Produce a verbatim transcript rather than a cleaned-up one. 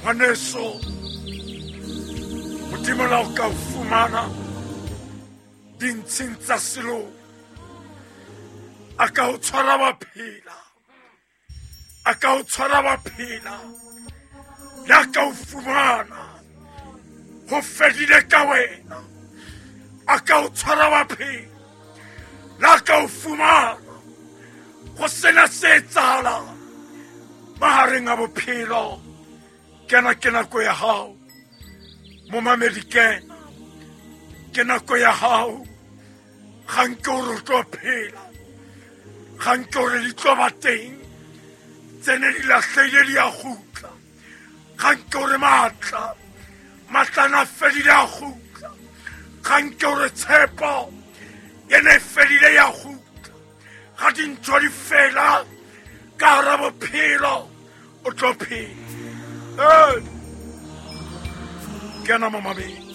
Ngwaneso, Modimo la o ka o fumana dintshing tsa selong, a ka o tshwara wa phela, a ka o tshwara wa phela, le a ka o fumana ho fedile ka wena, a ka o tshwara wa phela, le a ka o fumana go sena se etsahalang mahareng a bophelo. Kena ke nako ya hao, momamedi, kena ke nako ya hao. Ga nke o re o tlo phela, ga nke o re di tlo ba teng tse ne di lahlehile di a kgutla, ga nke o re matla matlana a fedile a kgutla, ga nke o re tshepo ene e fedile ya kgutla, ga dintho di fela ka hara bophelo o tlo phela. Ee, kena momamedi.